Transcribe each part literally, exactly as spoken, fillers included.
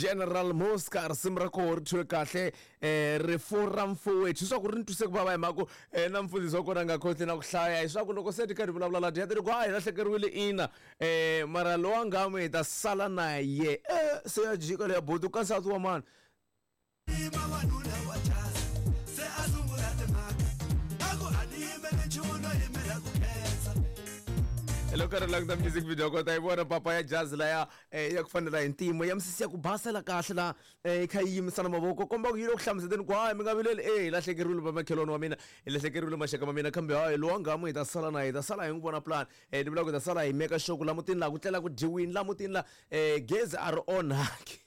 General Mosca risimu ra koho ri thyiwe kahle um rifu ra mfowethu leswaku ri ni twise ku vava hi mhaka ku um na mfundhisi wa kona a nga koti na ku hlaya hiswaku loko se ti karhi vulavula la dya ti ri ku a hi lahlekeriwile ina um mara lowa ngamu hi ta sala na ye e se ya jika leya buti ka nsati wa mani. Loko ri languta music video kota yi vona papa ya jazz laya ya ku fanela hi ntimo ya misisi ya ku basela kahle la yi kha yi yimisana mavoko komba ku yi le ku hlamuseteni ku hayi mi nga vileli e hi lahlekeriwile vamakhelwani wa mina hi lahlekeriwile maxaka ma mina kambe hayi lowa ngamu hi ta sala na hi ta sala hi n'wi vona plan um ni vula ku hi ta sala hi meka sure ku la mutini laha ku tlela ku dyiwini la mutini la um gezi a ri onhaki.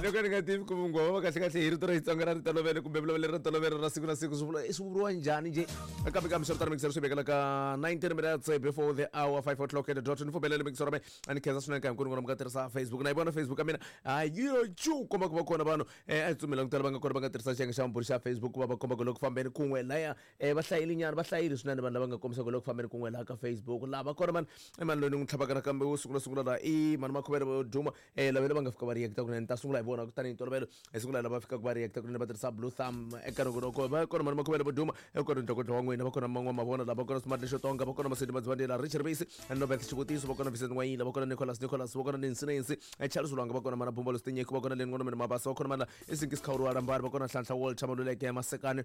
Loko ni nga tivi ku vungoma kahle kahle hi rito ra Xitsonga ra ritolovelo kumbe vulavulelo ra ntolovelo ra siku na siku swi vula swi vuriwa njhani njhe kambe kambe swi ri tano mixero swi vekela ka nineteen minutes before the hour five o'clock at the dot ni pfumelele mixero me a ni khensa swinene ka hinkwenu n'wina mi nga tirhisa Facebook na yi vona Facebook ya mina a yi yo cu komba ku va kona vanhu a hi tsumela ku tala va nga kona va nga tirhisa xiyenge xa vumbhuri xa Facebook ku va va komba ku loko fambeni kun'we laya va hlayile nyana va hlayile swinene vanhu lava nga kombisa ku loko fambeni kun'we laha ka Facebook laha va kona mani i mani loyi ni n'wi tlhavaka nakambe wo sungula sungula laha i mani Makhuvele vo duma lava va nga fika va react kunene ta sungula hi vona kutani hi ntolovelo hi sungula lava fikaka va react kunene va tirhisa blue thumb eka nongonoko va kona mani Makhuvele vo duma kona ntokoto wa n'wina va kona man'wana mavona lava kona Smart Lexo Tonga va kona Masedi Madzivandlela Richard Base Nobeth Xivutiso va kona Vincent N'wayila va kona Nicholas Nicholas va kona Nancy Nancy Charles Lwanga va kona mana Bumba Lositinyeko va kona Leni N'wana Mina Mabasa va kona mana Isinkisi Khawuriwa Rambari va kona Nhlanhla Walter Maluleke Masekane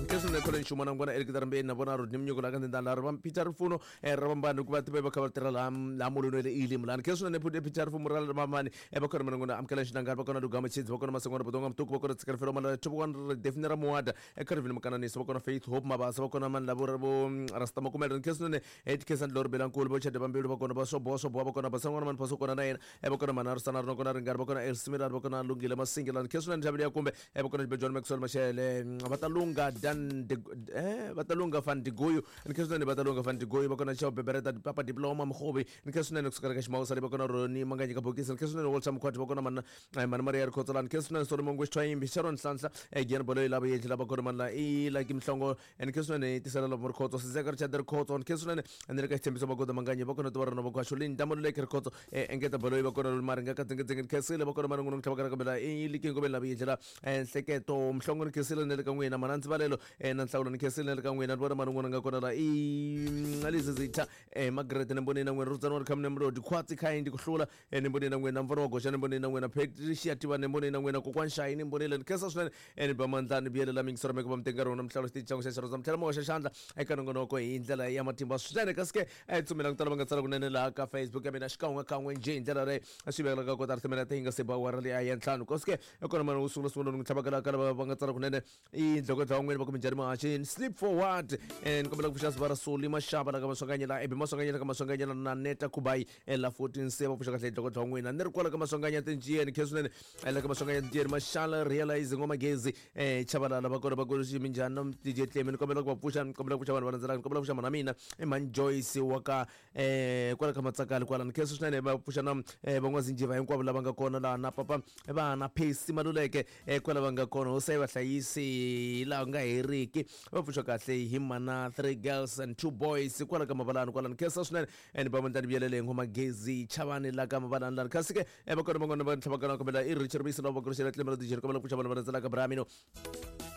Kesho ne khole nxuma na ngwana Eric Darambeni na vona Rodney Mnyuko la ka ndlela ra Peter Rifuno ra vambani ku va tiva va kha va tirha la la mulweni le ili mulani kesho ne Peter Rifuno ra vambani e va khona mina ngwana amukela xinangari va kona Lugama Chidzi va kona Masengwana Botonga Mtuku va kona Tsikarifelo Mala Thobokwana Define ra Muwada e Carvin Makananisi va kona Faith Hope Mabasa va kona mani lavo vo Rasta Makumela kesho ne Ed Kesan Lor Belankulu bo Chade Bambilu va kona ba Sobo Sobo va kona Basangwana mani Phaso kona na yena e va kona Mana Rusana ri kona Ringari va kona Elsimira va kona Lungile Masingila kesho ne Ntabile ya kumbe e va kona John Maxwell Mashele va ta lunga Dan De, eh Batalunga van Digoyo nkesune Batalunga van Digoyo bakona Chao Bebereta Papa Diploma Mkhobi nkesune kusukela ka Ximawusa le bakona Roni Manganye ka Bokisi nkesune Walter Mkhwati bakona mana mana Maria Rkhotsola nkesune Solomon Ngweshwayimbi Sharon Nhlanhla eh Gian Boloyi lava yendla bakona mana i like Mhlongo nkesune Tisela lo Mkhotso Sizeka Richard Rkhotso nkesune Andreka Xithembiso Magoda Manganye bakona Twarano Bakwasho Linda Moluleke Rkhotso eh Engeta Boloyi bakona Maringa ka Tsengetsenge nkesile bakona mana Ngunu Mhlabakara kabela i likingo bela yendla Nhleketo Mhlongo nkesile ne le ka n'wina mana Ntsibalelo na nhlawulo ni khensile le ka n'wina ni vona mani n'wana nga kona la i alizizitha eh Margaret ni mboneni na n'wina Rudzani wa Khamne Mlodi Khwatsi Khayindi ku hlula ni mboneni na n'wina Mfana wa Goxa ni mboneni na n'wina Patricia Tiva ni mboneni na n'wina Kokwana Shayi ni mbonile ni khensa swinene ni ba mandlani biyelela mingisoro meko va mitenga rona mhlawulo xitichi xa xa xa mtlhela moxa xandla eka nongonoko hi ndlela ya matimba swinene kasi ke a hi tsumela ku tala va nga tsala kunene laha ka Facebook ya mina xikan'we kan'we njhe hi ndlela leyi swi vekelaka kota ri timela ti nga se ba awara leyi ya ntlhanu kasi ke kona mani wo sungula sungula ni n'wi tlhavaka ka lava va nga tsala kunene i ndloko wa n'wina va ku minjhani mahaxini sleep forward ni kombela ku pfuxa Sivara Soli Mashaba la ka Maswanganyela Ebi Maswanganyela ka Maswanganyela na Neta Kubai la fourteen se va pfuxa kahle ndloko wa n'wina ni ri kwala ka Maswanganya tinjiyeni khe swinene la ka Maswanganya tinjiyeni Mashala realize ngoma gezi eh Chabalala va kona va ku xi minjhani na D J Clem ni kombela ku va pfuxa ni kombela ku pfuxa vanhu va landzelaka ni kombela ku pfuxa mana mina i Man Joyce wa ka eh kwala ka Matsakali kwala ni khe swinene va pfuxa na van'wazinjiva hinkwavo lava nga kona laha na papa vana Phesi Maluleke kwala va nga kona hosi yi va hlayisi laha nga heriki va pfuxa kahle hi mana three girls and two boys kwala ka Mabalani kwala ni khensa swinene ni ba mandlani vuyelele ngoma gezi chavani la ka Mabalani lani kasi ke va kona van'wana va tlhavaka kombela i Richard Bisi lava va kurisela Clemelo D J kombela ku pfuxa vanhu va landzelaka Bramino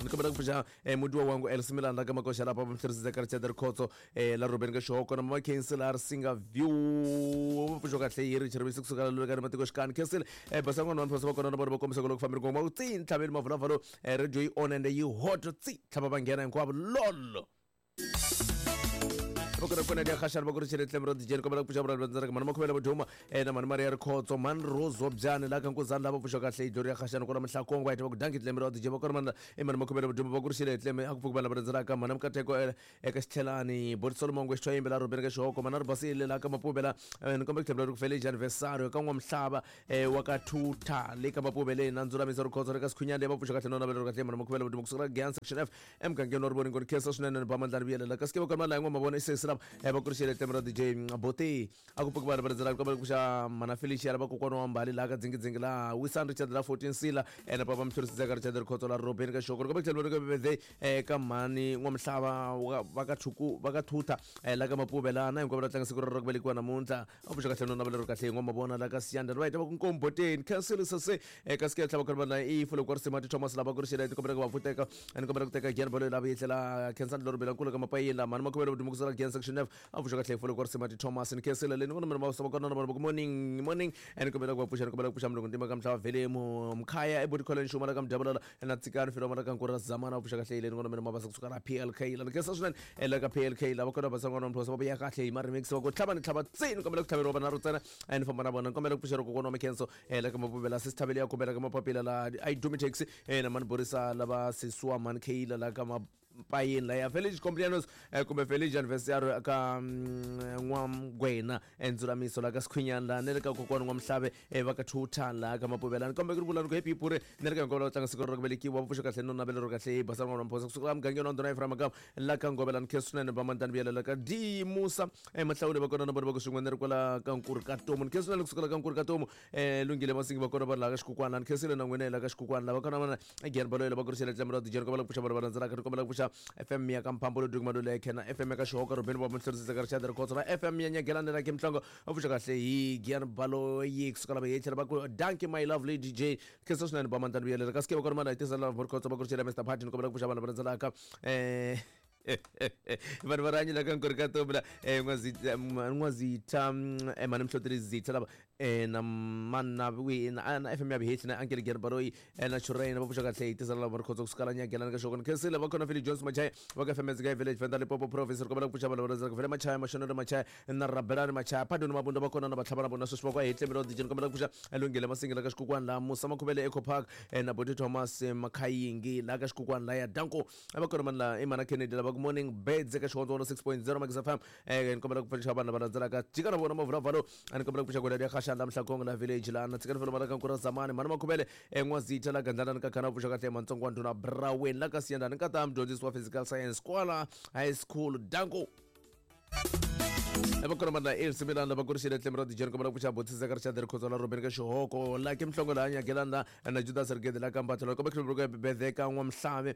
ni kombela ku pfuxa mudiwa wangu Elsimilani la ka Makoxa lapha va mhlerisisa ka Richard Rikhotso la Ruben ka Xihoko na Mama Khensi la Risinga View va pfuxa kahle hi Richard Bisi kusuka la ka matiko xikani khensile basangwana vanhu va kona na vona va kombisa ku loko fambeni ngoma ku tsi ntlhaveni mavulavalo radio yi on and yi hot tsi tlhava va nghena hinkwavo lolo va kona dia khashana va ku ri Clemelo D J kombela ku pfuxa vanhu va landzelaka mani Makhuvele vo duma na mani Maria Rikhotso mani Rose wa Byani la ka Nkuzani lava pfuxa kahle hi Gloria Khashana kwala Mhlakongo va heta va ku danki Clemelo D J va kona mani i mani Makhuvele vo duma va ku ri Cleme a ku pfuki vanhu lava landzelaka mani Mkateko eka Xitlhelani Boti Solomon Ngweshwayimbe la Ruben ka Xihoko mani Ribasile la ka Mapubela ni kombela ku tlhela ri ku fele anniversary ka N'wamhlava wa ka Thutha le ka Mapubele na Ndzulamiso Rikhotso re ka Sikhunyani va pfuxa kahle nona va kahle mani Makhuvele vo duma kusuka Giyani section F emugangeni wa Rivoningo ni khensa swinene ni ba mandlani vuyelela kasi ke va kona la yin'wana mavona i sesi lava va ku ri xele tlembe ra D J Boti a ku pfuki vanhu va landzelaka kombela ku pfuxa mana Felicia lava kokwana wa Mbali laha ka dzingidzinghi laha Wisan Richard la fourteen Sila ene papa Mthorisi ka Richard Rikhotso la Robin ka Xoko kombela tlhelo ka birthday ka mhani N'wamihlava va ka Thuku va ka Thutha la ka Mapuve la na hinkwavo va tlanga siku ra ku velekiwa namuntlha a pfuxa kahle no navela ro kahle hi N'wamavona la ka Siyanda right va ku Nkomboteni cancel sase ka sikela tlhava khona la i fulo kwa Risimati Thomas lava ku ri xele kombela ku va pfuteka ene kombela ku teka Gian Bolo lava yitlela Khensani Lorobela nkulu ka Mapayeni la mhani Makhuvelo Vudumukusela Gian section F a pfuxa kahle fulo kwa Risimati Thomas ni cancel le ni vona mina va kona na vona morning morning ene kombela ku va pfuxa ni kombela ku pfuxa mulungu ntima ka mhlava vele mkhaya eBodi College Xuma la ka Mdyabulala na Tsikani Filo mara ka Nkura Zamana a pfuxa kahle le ni vona mina mabasa kusuka la P L K la ni khensa swinene la ka P L K lava kona va sangwana mphosa va ya kahle hi ma remix va ku tlhava ni tlhava tsini kombela ku tlhaveriwa vana ro tsena ene famba na vona kombela ku pfuxa ro kokwana wa Mikhenso la ka Mapuvela Sisithavele ya kombela ka Mapapila la I Dumi Taxi na mani Borisa lava Siswa man Kayla la ka Mapayeni la ya Village Complianos kumbe Village Anniversary ka N'wamgwena Ndzulamiso la ka Sikhwinyana la ni le ka kokwana N'wamhlave va ka Thutha la ka Mapuvela ni kombe ku ri vula ni ku happy pure ni le ka hinkwavo lava tlanga siku ra ku velekiwa va pfuxa kahle no navela ro kahle basa n'wana Mphosa kusuka mugangeni wa Ndhuna Ephraim Magama la ka Ngovela ni khensa swinene va Mandani Vuyela la ka D Musa Mahlawule va kona na vona va ku swin'we ni ri kwala ka Nkuri ka Tomu ni khensa swinene kusuka la ka Nkuri ka Tomu Lungile Masingi va kona va la ka Xikukwana ni khensile na n'wina la ka Xikukwana lava kona vana Gian Baloyi lava ku ri xele tlembe ra D J kombela ku pfuxa vanhu va landzelaka ni kombela ku pfuxa F M ya ka Mphambo Ludwig Maluleke na F M ya ka Xihoka Robin va Mhlorisisa ka Richard Rikhotso na F M ya Nyagelani la Kimhlongo a pfuxa kahle hi Gian Baloyi kusuka lava hi tlhela va ku dankie my lovely D J khensa swinene ba Mandani Vuyela ka sikeva kona mana hi tisa lava Rikhotso va ku ri xele Mister Party ni kombela ku pfuxa vanhu va landzelaka eh vanhu va rihanyo la ka Nkuri ka Tomu la N'wazitha mhani Mhloteli Zitha lava na mana na F M ya Vihehli na Ankele Gian Baloyi na Churena va pfuxa kahle hi tisa lava Rikhotso kusuka la Nyagelani ka Xoko ni khensile va kona Philip Jones Machaya va ka F M Dzika Village Venda Limpopo Province ri kombela ku pfuxa vanhu va landzelaka Vele Machaya Mashonelo Machaya na Rabelani Machaya Padoni Mabunda va kona na Vatlhava na vona sweswi va ku hi tlembe D J ni kombela ku pfuxa Lungile Masingi la ka Xikukwana la Musa Makhuvele Eco Park na Boti Thomas Makhayingi la ka Xikukwana la ya Danko va kona mani la Imana Kennedy lava ku morning birds eka Xihondzo one oh six point zero Max F M ni kombela ku pfuxa vanhu lava landzelaka jika na vona Mavulavalo ni kombela ku pfuxa Gwela ya Khasha la Mhlakongo la Village la na Tsikani Felo mara ka Nkura Zamani mhani Makhuvele N'wazitha la Gandlana ka Khana pfuxa kahle Mantsongo wa Ndhuna Braweni la ka Siyandani ka ta mudyondzisi wa physical science kwala high school Danko va kona mani la Elsie Milani lava ku ri xele tlembe ra D J ni kombela ku pfuxa Botisa ka Richard Rikhotso la Robin ka Xihoko la Kimhlongo la Nyagelani la na Judas Rigede la ka Mbatha la kombela ku birthday ka N'wamhlave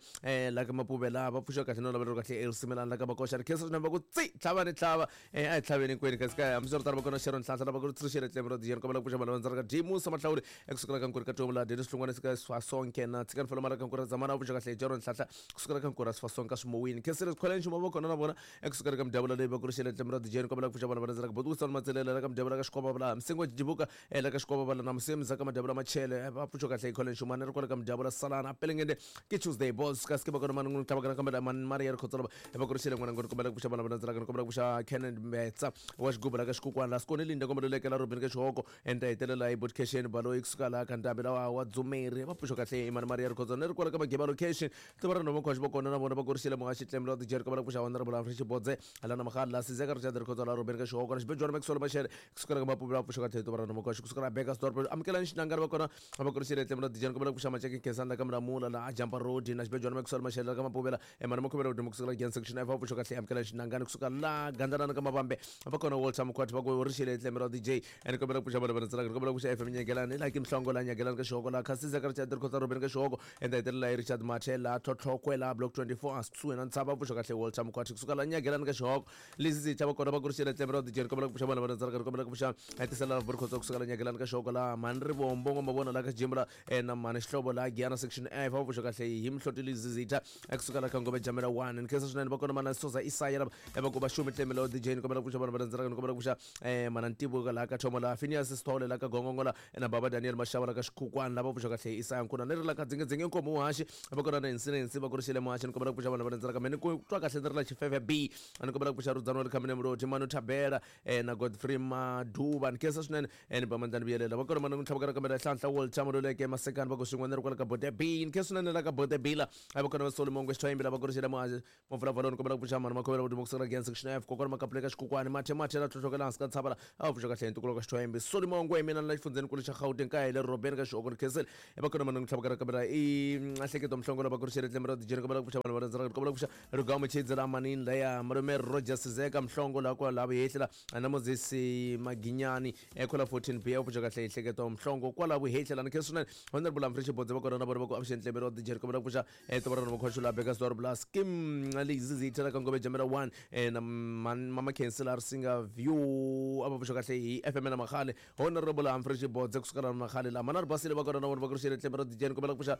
la ka Mapuve la va pfuxa kahle no lavela kahle Elsie Milani la ka Makoxa ri khensa swinene va ku tsi tlhava ni tlhava a hi tlhaveni hinkwenu kasi ka hambiswiritano va kona Sharon Nhlanhla lava ku ri xele tlembe ra D J ni kombela ku pfuxa vanhu lava landzelaka D Musa Mahlawuri ekusukela ka Nkuri ka Tomu la Dennis Hlongwane ka Sifasonke na Tsikani Felo mara ka Nkuri Zamana va pfuxa kahle Jaron Nhlanhla kusukela ka Nkuri Sifasonke ka Swimowini khensile Swikhweleni Xuma va kona na vona ekusukela ka Mdyabula leyi va ku ri xele tlembe ra D J ni kombela ku pfuxa vanhu va landzelaka Boti Wilson Matselela la ka Mdyabula ka Xikwava la Msingo Jibuka la ka Xikwava la na Msemza ka Mdyabula Machele va pfuxa kahle hi Colin Xumani ri kwala ka Mdyabula Salana Pelengende ke Tuesday Boss ka sikeba kona mani n'wi tlhava kana kambela mani Maria Rikhotso lava va ku ri xele n'wana ngoni kombela ku pfuxa vanhu va landzelaka ni kombela ku pfuxa Kenneth Mbetsa wa Xigubu la ka Xikukwana la Sikoni Linda kombela lekela Robin ka Xihoko enta hetelela hi Bodcation Baloyi kusuka la ka Ndambi lawa wa Dzumeri va pfuxa kahle Imani Maria Rikhotso ni ri kwala ka Mageba location tiva ra Noma Khwaxi va kona na vona va ku ri xele muhaxi tlembe la D J kombela ku pfuxa Honorable Afrika Xibodze la na Magala Sizeka Richard Rikhotso la Robin ka Xihoko na Xibejwana Maxwell Machele kusuka ka Mapuvela va pfuxa kahle tiva ra Noma Khwaxi kusuka la Bekkersdorp amukelani Xinangani va kona va ku ri xele tlembe la D J kombela ku pfuxa Macheke Khensani la ka Mlamula la Jampa Road na Xibejwana Maxwell Machele la ka Mapuvela Emani Makhuvela Vudimo kusuka la Gian section F va pfuxa kahle amukelani Xinangani kusuka la Gandalana ka Mavambe va kona Walter Mkhwati va ku ri xele tlembe la D J ene kombela ku pfuxa vanhu va landzelaka kombela ku pfuxa F M Nyagelani la Kimhlongo la Nyagelani ka Xihoko la Khasisa ka Richard Rikhotso Robin ka Xihoko enda hetelela hi Richard Machela Tlhotlhokwe la Block twenty-four kusuhi na Ntshava va pfuxa kahle Walter Mkhwati kusuka la Nyagelani ka Xihoko Lizzy Zitha va kona va ku ri xele tlembe ra D J kombela ku pfuxa vanhu va landzelaka kombela ku pfuxa Tisela Rikhotso kusuka la Nyagelani ka Xihoko la Mhani Rivombo N'wamavona la ka Jimbula na Mhani Xihlovo la Giyana section F va pfuxa kahle hi Mhloti Lizzy Zitha kusuka la ka Ngome Jamela one ni khensa swinene va kona mana Soza Isaya lava va ku va xumi tlembe la D J ni kombela ku pfuxa vanhu va landzelaka ni kombela ku pfuxa mana Ntibuka la ka Thomo la Phineas Sithole la ka Gongongo la na Baba Daniel Mashava la ka Xikukwana lava pfuxa kahle Isaya Nkuna ni ri la ka Dzingedzinge Nkomo Muhaxi va kona na Insinensi va ku ri xele Muhaxi ni kombela ku pfuxa vanhu va landzelaka me ni ku twa kahle ni ri la Xifefe B ni kombela ku pfuxa Rudzani wa le Khamene Mloti Manu Thabela na Godfrey Maduba ni khensa swinene ni ba mandlani vuyelela va kona mana n'wi tlhavaka kambe Nhlanhla Walter Maluleke Masekani va ku swin'we ni ri kwala ka Bote B ni khensa swinene la ka Bote B la a va kona va Solomon Xithoyimbi lava ku ri xela Mavulavaloni kombela ku pfuxa mhani Makhovela Vudumo kusukela Giyani Section F kokwana Makapuleka Xikukwani Mathe Mathe la tlhotlhokela hansi ka tshava la a va pfuxa kahle hi ntukulu ka Xithoyimbi Solomon Ngwe mina la xifundzhenikulu xa Gauteng kaya hi le Robeni ka Xihoko ni khensile va kona mana n'wi tlhavaka kambe i Nhleketo Mhlongo lava ku ri xela Tlembe ra Dijeni kombela ku pfuxa vanhu va rhandzaka kombela ku pfuxa Rugamo Chidzi la Manini laya Malume Roger Sizeka Mhlongo la kwala Vuhehli la na Moses Maginyani kwala fourteen B a pfuxa kahle hi Nhleketo Mhlongo kwala Vuhehli la ni khensa swinene Honorable Humphrey Xibodze va kona na vona va ku avuxeni Tlembe ra Dijeni kombela ku pfuxa Tovarana Makhosho la Bekasdorp la Skim Lizizitha la ka Ngove Jamela one na Mama Khensi la Risinga View a va pfuxa kahle hi F M na Makhale Honorable Humphrey Xibodze kusukela na Makhale la Manari Basile va kona na vona va ku ri xele Tlembe ra Dijeni kombela ku pfuxa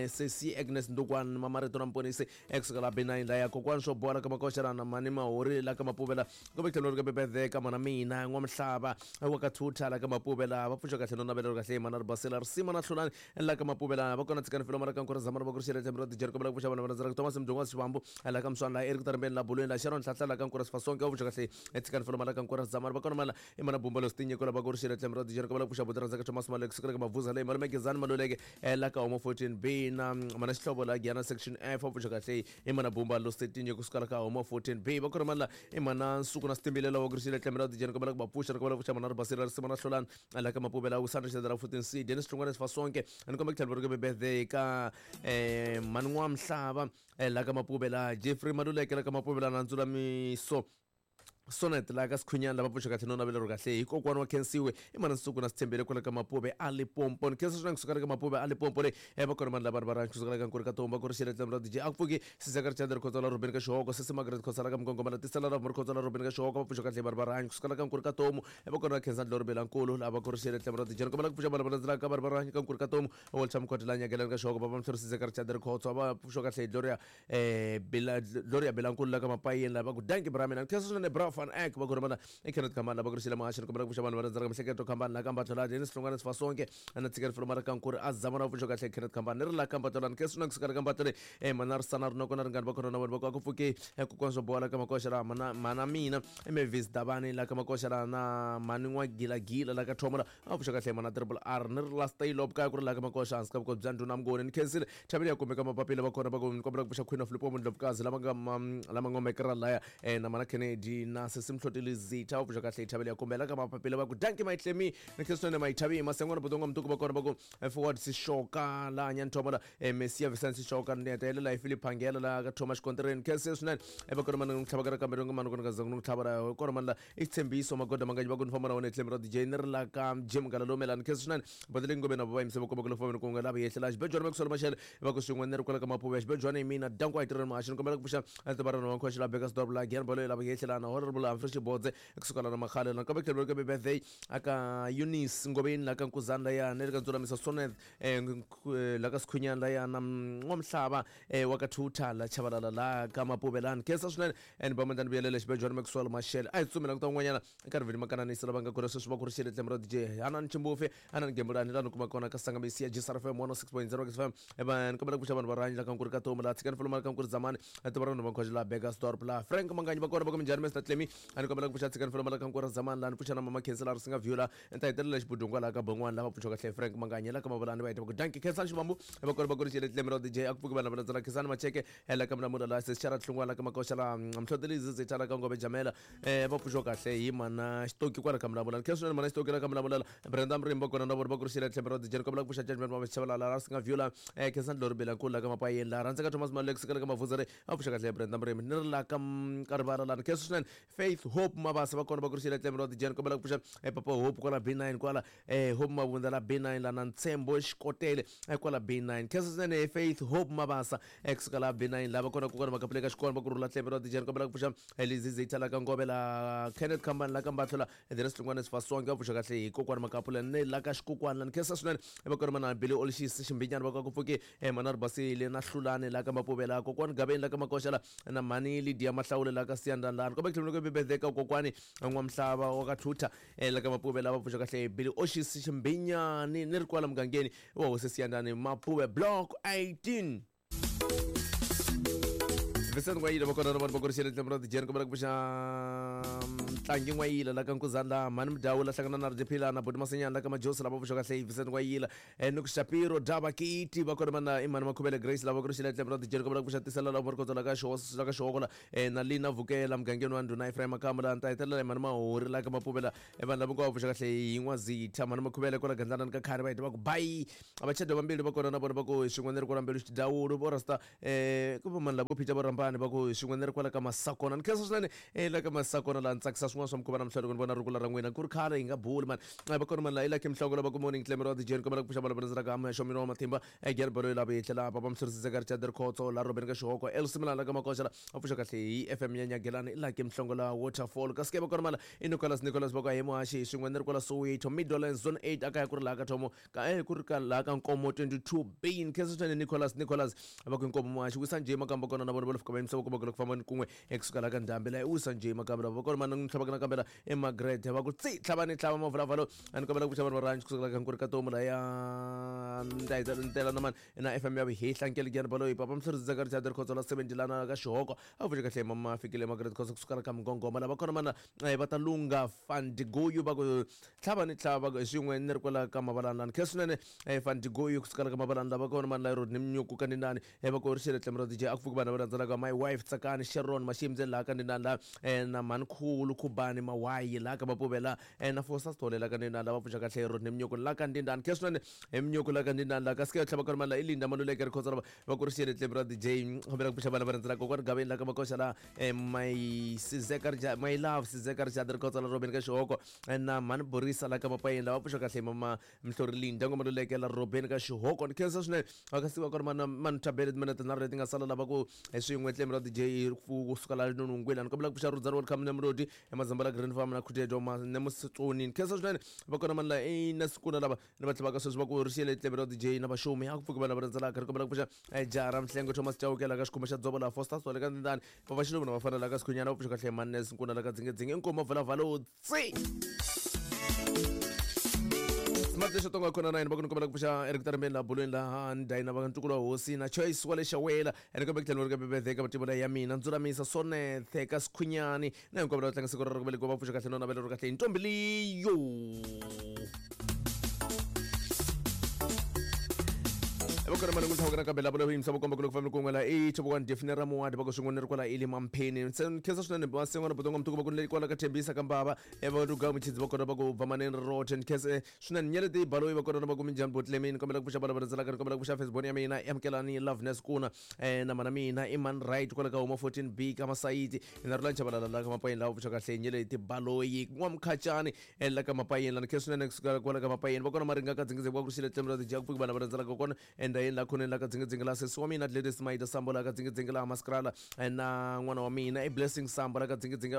Sesi Agnes Ndukwana Mamarito na Mponisi kusukela B nine la ya Kokwani swo bola ka Makoxa na Mani Mahori la ka Mapuvela kumbe tlhelo ri ka Bebede ka mana mina N'wamhlava wa ka Thutha la ka Mapuvela va pfuxa kahle no navela kahle hi Manari Basile Risima na Hlulani la ka Mapuvela va kona Tsikani Filoma la ka Nkura Zamana va ku ri xele Tlembe ra Dijeni kombela ku pfuxa vanhu va rhandzaka Thomas Mdungwa Xivambu la ka Mswana la Eric Tarambeni la Bulweni la Sharon Nhlanhla la ka Nkura Sifasonke va pfuxa kahle Tsikani Filoma la ka Nkura Zamana va kona mala i mana Bumba Lostinyeko la va ku ri xele Tlembe ra Dijeni kombela ku pfuxa buti rhandzaka Thomas Malek kusukela ka Mavuza leyi Malume Gezani Maluleke la ka Homo fourteen B na mana Xihlovo la Giyani Section F va pfuxa kahle i mana Bumba Lostinyeko kusukela ka Homo fourteen B va kona mala i mana Nsuku na Sitimbile la va ku ri xele Tlembe ra Dijeni kombela ku va pfuxa kombela ku pfuxa mana Ribasile Risima na Hlulani la ka Mapuvela Usandra Xedera fourteen C Dennis Hlongwane Sifasonke ni komba ku tlhela ri ka birthday ka eh Mani N'wamhlava la ka Mapuvela Jeffrey Maluleke la ka Mapuvela na Ndzulamiso Sonet la ka Sikhunyana lava pfuxa kahle no navela ro kahle hi kokwana wa Khensiwe i mana Nsuku na Sithembele kwala ka Mapuve a Limpopo ni khensa swinene kusuka ka Mapuve a Limpopo le va kona vanhu lava va kusuka ka Nkuri ka Tomba ku ri xele Tlembe ra D J a ku pfuki Sizeka Richard Khotso la Robeni ka Xihoko Sesi Margaret Khotso la ka Mgongoma la Tisela la Khotso la Robeni ka Xihoko va pfuxa kahle va va kusuka ka Nkuri ka Tomu va kona Khensa Ndlori Belankulu lava ku ri xele Tlembe ra D J kombela ku pfuxa vanhu va landzelaka ka va va ka Nkuri ka Tomu Walter Mkhoti la Nyakelani ka Xihoko va va Mhlori Sizeka Richard Khotso va pfuxa kahle Gloria eh Bela Gloria Belankulu la ka Mapayeni la va ku danki bra mina khensa swinene bra Van Eck va kona mana i Kenneth Khambani lava ku ri xele Mahaxi kombela ku pfuxa vanhu va rhandzaka Mihleketo Khambani la ka Mbatlola Dennis Hlongwane Sifasonke na Tsikani Filoma la ka Nkuri a Zamana va pfuxa kahle Kenneth Khambani ni ri la ka Mbatlola ni khensa swinene kusuka ka Mbatlola eh mana Risana Rinoko na Ringani va kona na vona va ku a ku pfuki kokwana swo bola ka Makoxa la mana mana mina Mavis Dabani la ka Makoxa la na Mani N'wagilagila la ka Thomola a pfuxa kahle mana Triple R ni ri la Stay Lob kaya ku ri la ka Makoxa hansi ka vukosi bya Ndhuna Mnguni ni khensile Thabile ya kumeka mapapila va kona va ku ni kombela ku pfuxa Queen of Limpopo Ndlovukazi lama nga lama ngomekera laya na mana Kennedy na Sesi Mhloteli Zitha va pfuxa kahle Thabile ya kumbela ka mapapila va ku danki Maitlemi ni khensile swinene Maithabi Masengwana Budongo Mtuku va kona va ku forward Sishoka la Nyanthomala Messia Vincent Sishoka ni hetelela hi Philip Phangela la ka Thomas Xikontireni khensile swinene va kona mana n'wi tlhavaka kambe rin'we mana kona ka zanga n'wi tlhava kona mana la i Tshembiso Magoda Manganyi va ku ni famba na wona Tlembe ra D J ni ri la ka Jim Galalomela ni khensile swinene badele ngome na va yimise va komba ku lofameni ku nga lava yehlela Xibejwana Maxwell Mashele va ku swin'we ni ri kwala ka Mapuve Xibejwana hi mina danko a hi tirheni Mahaxi ni kombela ku pfuxa Tibarana wa Nkhoxi la Bekasdorp la Giyani Bolo lava yehlela na Honorable Humphrey Xibodze kusuka la na Makhale na kambe tlhelo ka birthday aka Eunice Ngobeni la ka Nkuzani la ya ni ri ka Ndzulamiso Sonet la ka Sikhunyana la ya na N'wamhlava wa ka Thutha la Chabalala la ka Mapuve la ni khensa swinene ni ba mandlani vuyelela Xibejwana Maxwell Mashele a hi tsutsumela ku ta un'wanyana nkarhi vhini makananisi lava nga kona sweswi va ku ri xele Tlembe ra D J Hanani Chimbufe Hanani Gembulani la ni kuma kona ka Sangamisi ya G S R F M one oh six point zero F M va ni kombela ku pfuxa vanhu va rhanyi la ka Nkuri ka Tomu la Tsikani Filoma la ka Nkuri Zamani Tibarana va Nkhoxi la Bekasdorp la Frank Manganyi va kona va ku minjhani Mister Tlemi a ni kombela ku pfuxa Tsikani Filoma la ka Nkuri Zamani la ni pfuxa na Mama Khensi la Risinga View la ni ta hetelela Xibudungwa la ka Bongwana la va pfuxa kahle Frank Manganyi la ka Mavulani va heta va ku danki Khensani Xivambu va kona va ku ri xele Tlembe ra D J a ku pfuki vanhu va landzela Khensani Macheke la ka Mlamula la Sesi Xara Hlungwana la ka Makoxa la Mhloteli Zizitha la ka Ngove Jamela va pfuxa kahle hi mana Xitoki kwala ka Mlamula khensa swinene mana Xitoki la ka Mlamula Brenda Mrimba kona na vona va ku ri xele Tlembe ra D J ni kombela ku pfuxa Judgment Mama Chabalala la Risinga View la Khensani Ndlori Belankulu la ka Mapayeni la rhandzeka Thomas Malek la ka Mavuzere va pfuxa kahle Brenda Mrimba ni ri la ka Karivara la khensa swinene Faith Hope Mabasa va kona va ku ri xele Tlembe ra D J ni kombela ku pfuxa Papa Hope kwala B nine kwala Hope Mabunda la B nine la na Ntshembo Xikotele kwala B nine khensa swinene Faith Hope Mabasa kusuka la B nine lava kona kokwana Makapuleka Xikona va ku rhula Tlembe ra D J ni kombela ku pfuxa Lizizitha la ka Ngove la Kenneth Khambani la ka Mbatlola Dennis Hlongwane Sifasonke va pfuxa kahle hi kokwana Makapula ni la ka Xikukwana ni khensa swinene va kona mana Billy Olishisi Ximbinyana va ku pfuki mana Ribasile na Hlulani la ka Mapuvela kokwana Gabeni la ka Makoxa la na Mani Lydia Mahlawule la ka Siyandani la komba ku tlhela ku birthday ka kokwani N'wamhlava wa ka Thutha la ka Mapuvela va pfuxa kahle Billy Oshisi Ximbinyani ni ri kwala mugangeni wa hosi Siyandani Mapuve Block eighteen Vincent Ngwayile va kona na vanhu va ku ri xele Tlembe ra D J ni kombela ku pfuxa Tlangi N'wayila la ka Nkuzana la mhani Mudyawu la hlangana na Rdiphila na Boti Masinyana la ka Majosi lava pfuxa kahle Vincent N'wayila eh ni ku Shapiro Daba Kiti va kona mana Imani Makhubele Grace lava ku ri xile Tlembra Dijeri kombela ku pfuxa tisela la Morkoto la ka Xo la ka Xoko la eh na Lina Vukela mugangeni wa Ndhuna Ephraim Makamba la nta hetelela Imani Mahori la ka Mapuvela eh vanhu lava hinkwavo pfuxa kahle hi N'wazitha mhani Makhubele kwala Gandlana ka Khari va heta va ku bye abachado vambili va kona na vona va ku xin'we ni ri kwala Mbilu Xidawulu vo rasta eh ku va mani lavo Peter Borambani va ku xin'we ni ri kwala ka Masakona ni khensa swinene eh la ka Masakona la ni tsakisa swin'wana swa mikhuva namuntlha loko ni vona rungula ra n'wina ku ri khale hi nga buli mani va kona mani la i Lucky Mhlongo lava ku morning Clemero wa D J ni kombela ku pfuxa valava ka Amexo mina wa matimba eh Gerbo loyi lava hi tlhela papa Mhlorisise ka Richard Khotso la Robin ka Xihoko El Simila la ka Makoxa la a pfuxa kahle hi F M ya Nyagelani i Lucky Mhlongo la Waterfall kasi ke va kona mani i Nicholas Nicholas va ku hi muhaxi xin'we ni ri kwala Soweto Midlands Zone eight akaya ku ri laha ka Thomo ka eh ku ri ka laha ka Nkomo twenty-two B ni khensa swinene Nicholas Nicholas va ku Nkomo muhaxi wisa njhe makamba kona na vona va fika va yimisa va komba ku famba ni kun'we ekusuka la ka ndhambi la wisa njhe makamba lava va kona mana ni tlhavaka nakambe la eMargaret va ku tsi tlhava ni tlhava mavulavalo a ni kombela ku pfuxa vanhu va ranch kusuka la ka Nkuri ka Tomu la ya ntela na mani na F M ya Vihehla Nkele Gyani Baloyi papa Mhlorisise ka Richard Khotso la seventy lana ka Xihoko a pfuxe kahle mama fikile Margaret Khotso kusuka la ka Mngongoma lava kona mana va ta lunga Fandigoyu va ku tlhava ni tlhava swin'we ni ri kwala ka Mavalani lani khensa swinene Fandigoyu kusuka la ka Mavalani lava kona mani la Rodney Mnyuku ka Ndindani va ku ri xile Tlembra D J a ku pfuki vanhu va landzelaka my wife Tsakani Sharon Mashimze laha ka Ndindani la na mhani Khulu Khubani Mawayi laha ka Mapuvela na Fosa Sithole la ka Ndindani lava pfuxa kahle Rodney Mnyuku la ka Ndindani khensa swinene Mnyuku la ka Ndindani la kasi ke tlhava kona mani la i Linda Maluleke ri Khotso lava va ku ri xile Tlembra D J kombela ku pfuxa vanhu va landzelaka kokwani Gaveni la ka Makoxa la my Sizeka Richard my love Sizeka Richard ri Khotso la Robin ka Xihoko na mhani Borisa la ka Mapayeni lava pfuxa kahle mama Mhlori Linda ngoma Maluleke la Robin ka Xihoko ni khensa swinene va ka siku va kona mana mani Thabele timinete tinharhu leti nga sala lava ku swin'we Tlembra D J kusuka la Nonongwela ni kombela ku pfuxa Rudzani Welcome Nemrodi eMazambala Green Farm na Khutedo Nemusitsoni ni khensa swinene va kona mani la i na Sikuna lava ni va tlhavaka sweswi va ku ri xile Tlembra D J na vaxumi a ku pfuki vanhu lava rhendzelaka ri kombela ku pfuxa Jara Mhlengo Thomas Chauke la ka Xikhumba xa Dzovo la Foster Sole ka Ndindani papa Xiluva na vafana la ka Sikhunyana va pfuxa kahle Manes Nkuna la ka Dzingedzinge inkomo vulavalo tsi Smart lexo tonga khona nine va ku ni kombela ku pfuxa Eric Tarembeni la bulweni laha ni dayina va ntukulu wa hosi na Choice wa le Xawela ene kombe ku tlhela ri ka bebethe ka matimu ya mina Ndzulamisa Sonethe ka Sikhunyani na hinkwavo lava tlanga siku ra ku velekiwa va pfuxa kahle no navela ri kahle hi ntombi leyo. Vakona mali n'wi nakambe lava loyi yimisa vokomba ku loko fambi kun'we la i Chobokwane Define ra Muwadi va ku swin'we ni ri kwala ili Mampheni se khensa swinene Masin'wana Botonga Mtuku va ku ni kwala ka Thembisa ka Mbava va Ruga Muchidzi va kona va ku Bvamaneni Roche ni khensa swinene Nyeleti Baloyi va kona va ku Minjhani Botlemini kombela ku pfuxa vana va rhendzelaka ni kombela ku pfuxa Facebook ya mina Amukelani Loveness Kuna na mana mina Iman Right kwala ka Huma fourteen B ka Masayiti na Rulani Chabalala la ka Mapayeni lava pfuxa kahle Nyeleti Baloyi N'wamkhachani la ka Mapayeni la ni khensa swinene kusuka kwala ka Mapayeni va kona Maringa ka Dzingidze va ku xile Tlembra Dija ku pfuki vana va rhendzelaka kona endhawini la khoneni la ka Dzingidzingi la sesi wa mina Gladys Maida Sambo la ka Dzingidzingi la Maskrala na n'wana wa mina i Blessing Sambo la ka Dzingidzingi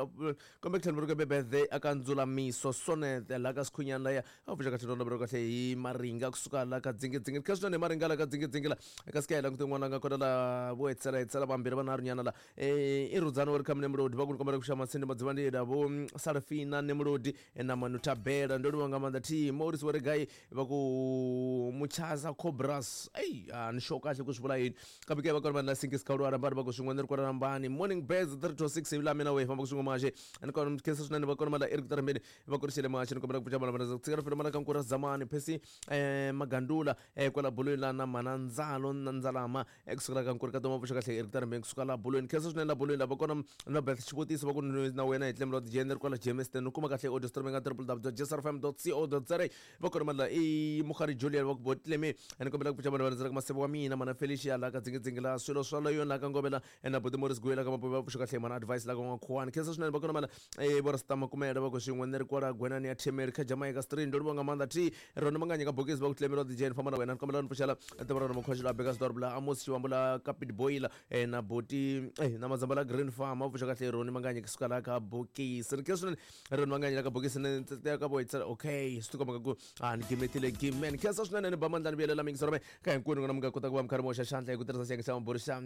kombe ku tlhela ri ka birthday aka Ndzulamiso Sonete la ka Sikhunyana laya a pfuxa kahle rona kahle hi Maringa kusuka la ka Dzingidzingi kha swinene Maringa la ka Dzingidzingi la ka sika langute n'wana nga kona la vo hetsela hetsela vambirhi vanharhu nyana la i Rudzani wa ri khamune Nemrodi va ku ni kombela ku xa Masindi Madzivandila vo Sarafina Nemrodi na Manu Tabela ndo livha nga maanḓa thi Maurice wa ri gai va ku Muchaza Cobras ei a ni sure kahle ku swi vula yini kambe ke va kona vanhu la Sinkis Khawulwa rambani va ku swin'we ni ri kwala rambani morning birds three to six hi la mina we famba ku swin'we maxe ni kona khensa swinene va kona mala Eric Tarambeni va ku ri xele maxe ni kombela ku pfuxa vana va tshika fela mala ka Nkura Zamani Phesi eh Magandula eh kwala bulweni la na mana Ndzalo na Ndzalama kusukela ka Nkuri ka Toma pfuxa kahle Eric Tarambeni kusuka la bulweni khensa swinene la bulweni la va kona na Beth xivutiso va ku na wena hi Tlembra D J ni ri kwala Jamestown u kuma kahle audio streaming ka w w w dot j s r f m dot co dot za va kona mala i Mukhari Julian va ku Botlemi ni kombela ku pfuxa vanhu va rhandzelaka Masebo wa mina mana Felicia la ka Dzingidzingi la swilo swa la yona la ka Ngovela na Buti Morris Guyela ka Mapuva va pfuxa kahle mana Advice la ka N'wakhuwani khensa swinene va kona mala eh vo Rasta Makumela va ku swin'we ni ri kwala Gwenani ya Themeri kha Jamaica Street ndo livha nga maanḓa thi rona manganya ka bokisi va ku Tlembra D J ni famba na wena ni kombela ni pfuxela tiva rona Mukhoxi la Bekasdorp la Amos Xiwambu la ka Pitboy la na Boti na Mazamba la Green Farm va pfuxa kahle Roni Manganya kusuka la ka bokisi ni khensa swinene Roni Manganya la ka bokisi ni ka vo okay swi tikomba ku a ni gimetile gimen khensa swinene ni ba mandla ni vuyelela mingisero me ka hinkwenu n'wina mi nga kota ku va mi karhi mi hoxa xandla hi ku tirhisa xiyenge xa maburi xa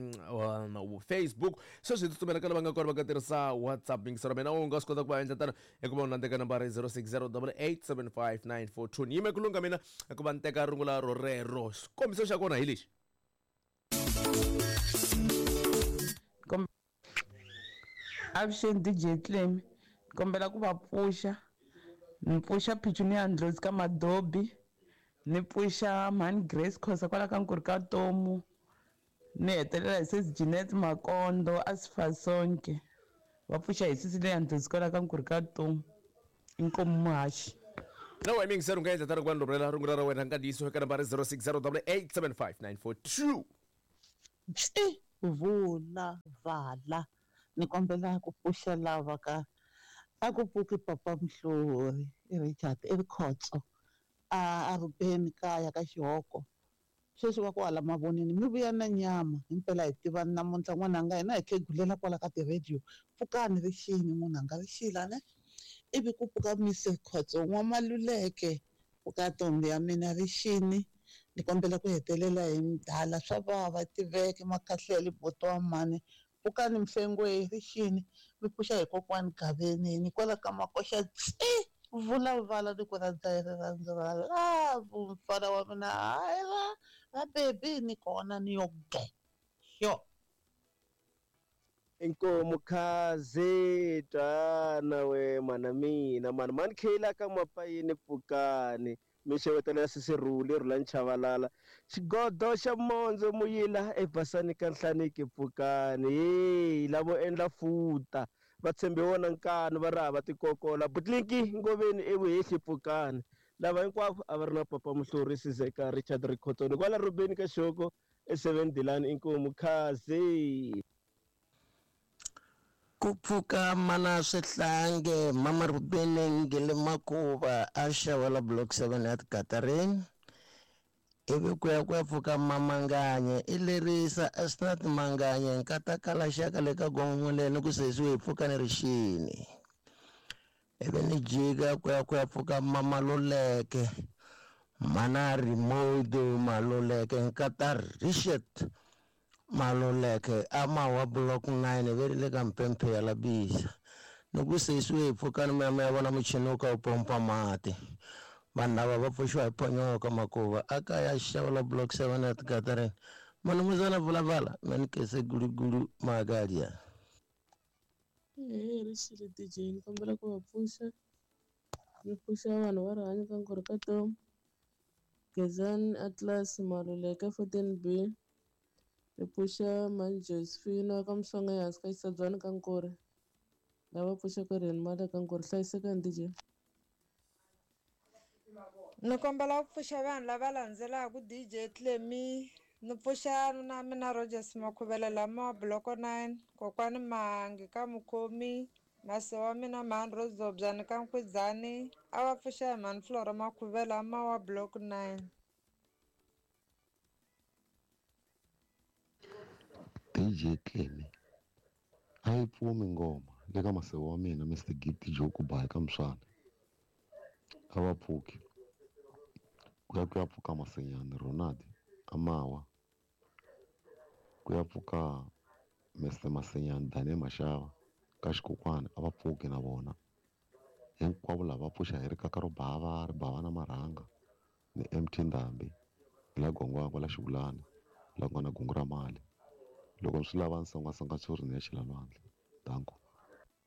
Facebook sweswi hi tsutsumela ka lava nga kona va nga tirhisa WhatsApp mingisero mina u nga swi kota ku va endla tano hikuva u landzeka nambara zero six zero eight eight seven five nine four two ni yime ku lungha mina hikuva ni teka rungula rorero xikombiso xa kona hi lexi. Avuxeni D J Clem, Kombela ku va pfuxa. Ni pfuxa Petunia Ndlozi ka Madobi. Ni pfuxa Mhani Grace Khosa kwala ka Nkuri ka Tomu. Ni hetelela hi sesi Jeanette Makondo a Sifasonke. Va pfuxa hi sesi leya Ndlozi kwala ka Nkuri ka Tomu. Inkomu muhaxi. Na wena mingiseri u nga endla tano ku va ni rhumela rungula ra wena nkandziyiso eka nambara zero six zero double eight seven five nine four two. Tsi vula vala ni kombela ku pfuxa lava ka a ku pfuki papa Mhlori i Richard i Rikhotso a a Rubeni kaya ka Xihoko sweswi va kwala mavonini mi vuya na nyama himpela hi tivani namuntlha n'wananga hina hi khegulela kwala ka ti-radio pfukani rixini munhanga rixila ne ivi ku pfuka Mister Khotso n'wamaluleke pfuka ntombi ya mina rixini ni kombela ku hetelela hi mdala swa vava tiveke makhahlele boto wa mhani pfukani mhlengwe rixini mi pfuxa hi kokwani Gaveni ni kwala ka makoxa tsi vulavala ni ku rhandza hi rirhandzu ra love mfana wa mina hayi ra ra bebi ni kona ni yo ge xo. Inkomu khazi twana we mana mina mani mani khela ka mapayini pfukani mi xewetela sisirhuli rhula nchavalala xigodo xa mondzo muyila ebasani ka nhlaniki pfukani hey lavo endla futa va tshembe wona nkani va ri hava tikokola butlinki ngoveni evuhehli pfukani lava hinkwavo a va ri na papa Muhlori Sizeka Richard Rikhotoni kwala Rubeni ka Xoko e seven Dilani inkomu khazi. Ku pfuka mana swihlange mama Rubeni ngele makuva a xawela block seven at Katarin ivi ku ya ku ya pfuka mamanganye i lerisa Asnat Manganye nkata kala xaka le ka gongoleni ku sesiwe hi pfuka ni rixini ivi ni jika ku ya ku ya pfuka mamaluleke mana Remote Maluleke nkata Richard Maluleke ama wa block nine ve ri le ka mpemphe ya labisa ni ku sesiwe hi pfukani mi ya vona muchini wo ka wu pompa mati vanhu lava va pfuxiwa hi phonyoka makuva a kaya xawula block seven at Katarin manumuzana vulavala manikese gulugulu magadia. Eya rixile D J ni kombela ku va pfuxa ni pfuxa vanhu va rihanyo ka Nkuri ka Tomu Gezani Atlas Maluleke fourteen B ni pfuxa Mhani Josephine ka Mhlongo ehansi ka Xitsadzwana ka Nkuri lava pfuxaka riheni mali ka Nkuri hlayisekani D J. Ni kombela ku pfuxa vanhu lava landzelaka D J Clemy ni pfuxa na mina Rogers Makhuvele lama block nine kokwani Mahangi ka Mukhomi mase wa mina Mhani Rozobyani ka Nkwidzani a va pfuxa hi Mhani Flora Makhuvele ama wa block nine. D J Clemy a yi pfumi ngoma le ka maseve wa mina Mister Gift Joe Kubayi ka Mswana a va pfuki ku ya ku ya pfuka Masenyani Ronald Amawa ku ya pfuka Mister Masenyani Daniel Mashava ka Xikukwana a va pfuki na vona hinkwavo lava pfuxa hi rikaka ro bava ri bava na marhanga ni M T Ndhambi la Gongwangwa la Xivulani la ku nga na gungu ra mali loko swi lava nsongasonga tshuri ni ya chela lwandle danko.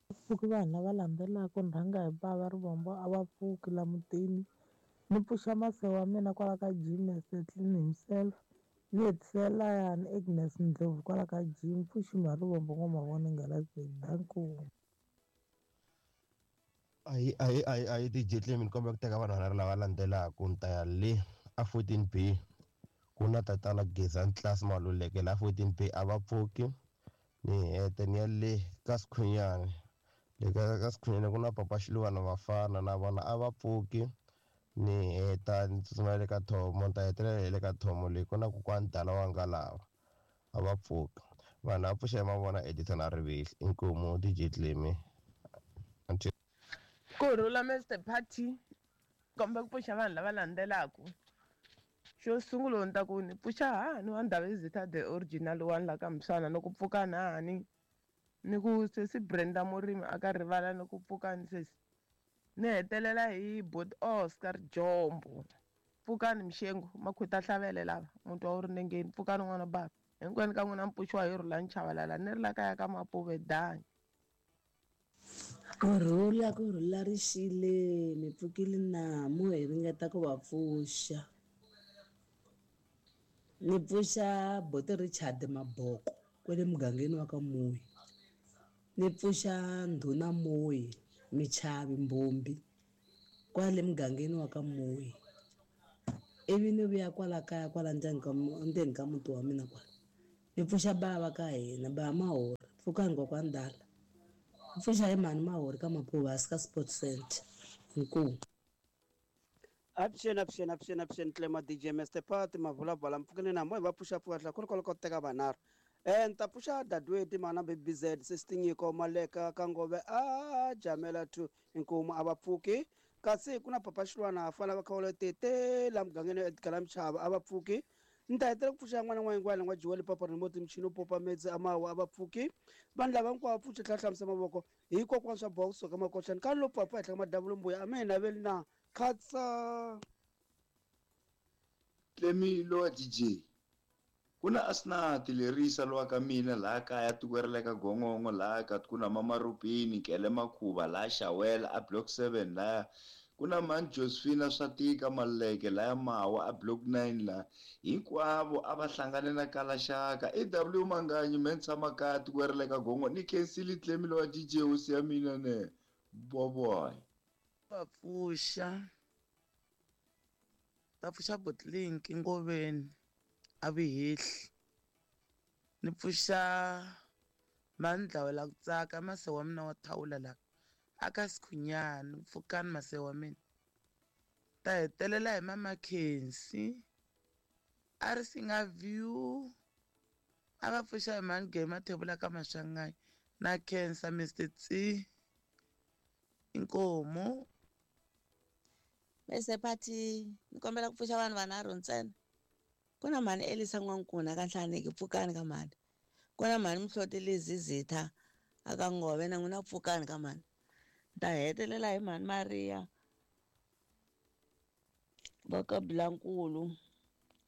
Pfuki vanhu lava landzelaka ni rhanga hi bava Rivombo a va pfuki la mutini ni pfuxa mase wa mina kwala ka Jim Setlin himself ni hetisela yani Agnes Ndlovu kwala ka Jim pfuxi Marivombo ngoma vona ngala danko. Ayi ayi ayi ayi D J Clemy ni kombela ku teka vanhu lava landzelaka ni ta ya le a fourteen B ku na tatana Gezani Class Maluleke la fourteen B a va pfuki ni hete ni ya le ka Sikhunyani le ka ka Sikhunyani ku na papa Xiluvana vafana na vona a va pfuki ni heta ni tsutsumela le ka Thomo ni ta hetelela hi le ka Thomo leyi ku na kokwani Dala wa nga lava a va pfuki vanhu va pfuxa hi mavona Edison a Rivihli inkomu D J Clemy. Kurhula Mister Party komba ku pfuxa vanhu lava landzelaka xo sungula ni ta ku ni pfuxa hani wa Ndhavezitha the original one la ka Mswana ni ku pfuka hani ni ku sesi Brenda Murimi a ka rivala ni ku pfukani sesi ni hetelela hi Bot Oscar Jombo pfukani Mxengu makhwita hlavele lava muti wa wu ri nengeni pfukani n'wana baba hinkwenu ka n'wina mi pfuxiwa hi Rhulani Chavalala ni ri la kaya ka Mapuve dani. Kurhula kurhula rixile mi pfukile namu hi ringeta ku va pfuxa. Ni pfuxa Bote Richard Maboko kwele mugangeni wa ka Muyi. Ni pfuxa Ndhuna Muyi Michavi Mbombi kwale mugangeni wa ka Muyi. Ivi ni vuya kwala kaya kwala ndzeni ka ndzeni ka muti wa mina kwala. Ni pfuxa bava ka hina ba Mahori pfukani kokwani Dala. Pfuxa hi mhani Mahori ka Maphuvasi ka Sports Center. Inkomu. Avuxeni avuxeni avuxeni avuxeni Clema D J Mister Party mavulavala mpfukeni na moya va pfuxa pfuka hlakulu ko teka vanharhu. Eh ni ta pfuxa Dadweti mana B Z Sesitinyiko Maleka ka Ngove a Jamela two inkomu a va pfuki. Kasi ku na Papa Xilwana fana va khawula tete la mugangeni Edgar Mchava a va pfuki. Ni ta hetelela ku pfuxa n'wana n'wana n'wana n'wa Joel Papa Remote Mchino Popa Medzi Amawa a va pfuki. Vanhu lava hinkwavo pfuxa tlhela hlamusa mavoko hi kokwana swa box ka makoxani ka lo papa henhla ka madavula mbuya a me naveli na khatsa. Tlemilo wa D J ku na Asnati lerisa lowa ka mina laha kaya tiko ra le ka Gongongo laha ka ku na Mama Rubini Kele Makhuva laha Xawela a block seven laha ku na Mani Josephina Swatika Maleke laya Mawa a block nine laha hinkwavo a va hlangane na Kalaxaka E W Manganyi me ni tshama kaya tiko ra le ka Gongongo ni khensile Tlemilo wa D J hosi ya mina ne boboy. Va pfuxa va pfuxa Botlink Ngoveni a Vihehli. Ni pfuxa Mandlawela ku tsaka mase wa mina wa thawula la aka Sikhunyani pfukani mase wa mina. Ta hetelela hi Mama Khensi a ri singa view a va pfuxa hi Mani Game Mathebula ka Maswanganyi na Khensa Mister Tsi inkomu. Mister Party ni kombela ku pfuxa vanhu vanharhu ntsena. Ku na mhani Elisa N'wankuna ka Nhlaneki pfukani ka mhani. Ku na mhani Mhloti Lizizitha aka Ngove na n'wina pfukani ka mhani. Ni ta hetelela hi mhani Maria va ka Bilankulu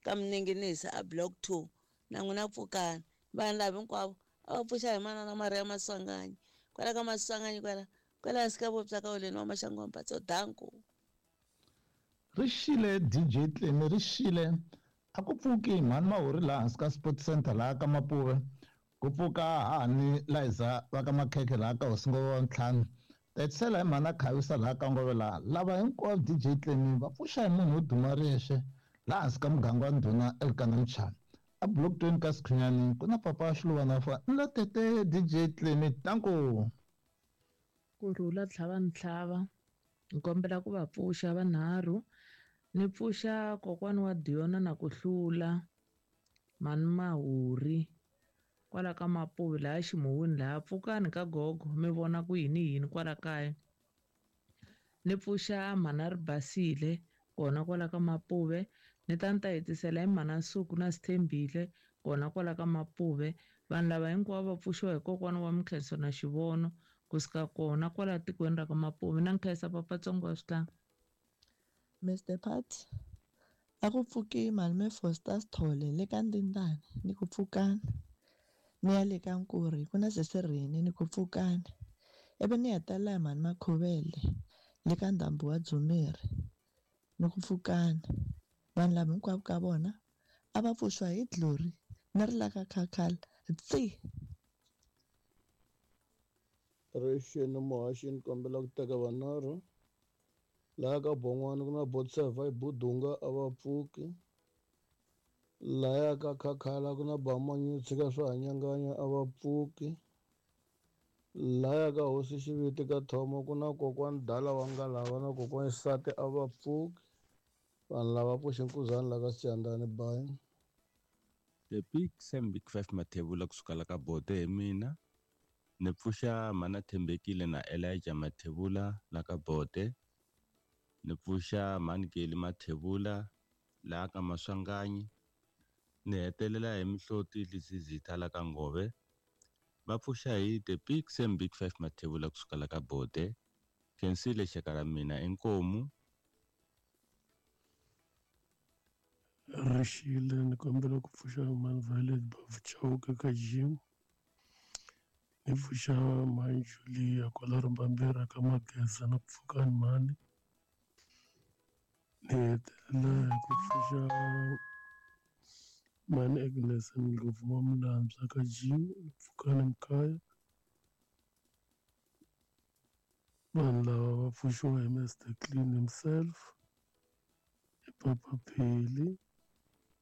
ka Mninginisi a block two na n'wina pfukani. Vanhu lava hinkwavo a va pfuxa hi manana Maria Maswanganyi kwala ka Maswanganyi kwala kwala hansi ka vopya ka Oleni wa Maxangu wa Mpatso danko. Rixile D J Tlemi rixile a ku pfuki mhani Mahori laha hansi ka Sports Center laha ka Mapuve ku pfuka hahani Liza va ka Makhekhe laha ka Hosi Ngove wa ntlhanu ta hetisela hi mhani a Khavisa laha ka Ngove laha lava hinkwavo D J Tlemi va pfuxa hi munhu wo duma riyexe laha hansi ka muganga wa Ndhuna Elkana Mchana a block twenty ka Sikhunyani ku na papa Xiluvana fa nla tete D J Tlemi tanko. Kurhula tlhava ntlhava ni kombela ku va pfuxa vanharhu. Ni pfuxa kokwani wa Diona na ku hlula mhani Mahori kwala ka Mapuve laha Ximuwini laha pfukani ka gogo mi vona ku yini yini kwala kaya. Ni pfuxa mhana Ribasile kona kwala ka Mapuve ni ta ni ta hetisela hi mhana Nsuku na Sithembile kona kwala ka Mapuve. Vanhu lava hinkwavo va pfuxiwa hi kokwana wa Mikhenso na Xivono kusuka kona kwala tikweni ra ka Mapuve na nkhensa Papatsongo wa Switlanga. Mister Party a ku pfuki Malume Foster Sithole le ka Ndindani ni ku pfukani. Ni ya le ka Nkuri ku na Sesirheni ni ku pfukani. Ivi ni hetelela hi mhani Makhuvele le ka ndhambi wa Dzumeri ni ku pfukani. Vanhu lava hinkwavo ka vona a va pfuxiwa hi Glory ni ri la ka Khakhala tsi. Rixeni muhaxi ni kombela ku teka vanharhu laha ka Bon'wana ku na Botseva hi Budunga a va pfuki lahaya ka Khakhala ku na Bamanyi tshika swa hanyanganya a va pfuki lahaya ka Hosi Xiviti ka Thomo ku na kokwani Dala wa Ngalava na kokwani Xisati a va pfuki vanhu lava pfuxe nkuzani la ka Siyandhani bayi. The Big Sam Big Five Mathebula kusuka la ka Bote hi mina ni pfuxa Mhana Thembekile na Elijah Mathebula la ka Bote ni pfuxa Mhani Geli Mathebula laha ka Maswanganyi ni hetelela hi Mihloti Lizizitha la ka Ngove va pfuxa hi The Big Sam Big Five Mathebula kusuka la ka Bote khensile xaka ra mina inkomu. Rixile ni kombela ku pfuxa Mhani Violet Bavuchauka ka Jim Ni pfuxa mhani Julia kwala Rimbambirhi ka Mageza na ku pfukani mhani. Ni hetelela hi ku pfuxa mhani Agnes Ndlovu wa Mulambya ka Jim ni pfukani Mkhaya. Vanhu lava va pfuxiwa hi Mister Clean himself, hi Papa Pheli,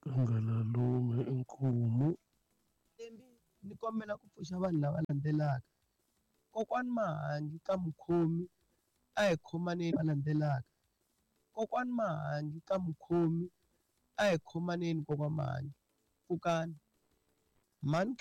Kangalalume Inkomu. Ni kombela ku pfuxa vanhu lava landzelaka. Kokwani Mahangi ka Mukhomi a hi khomaneni va landzelaka. Kokwani Mahangi ka Mukhomi a hi khomaneni kokwa Mahangi. Pfukani. Mhani